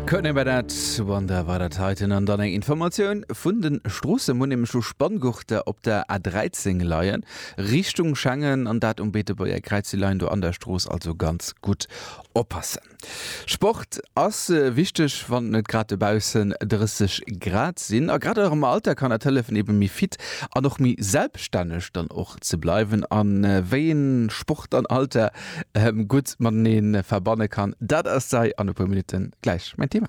Courtney Barnett, Wonder war dat heiten. An dann eng Informatioun vun de Stroossen. Mir hunn nämlech lo Spanngurter op der A13 leien, Richtung Schengen, an dat um Beetebuerger Kräiz. Déi leien do an der Strooss, also ganz gutt oppassen. Sport ass wichteg, wann et net grad dobaussen 30 Grad sinn. A grad och am Alter kann dat hëllefen, ebe méi fit an och méi selbststänneg dann och ze bleiwen. A wéi een Sport an Alter gutt matenee verbanne kann, dat ass hei an e puer Minutte gläich mäin Thema.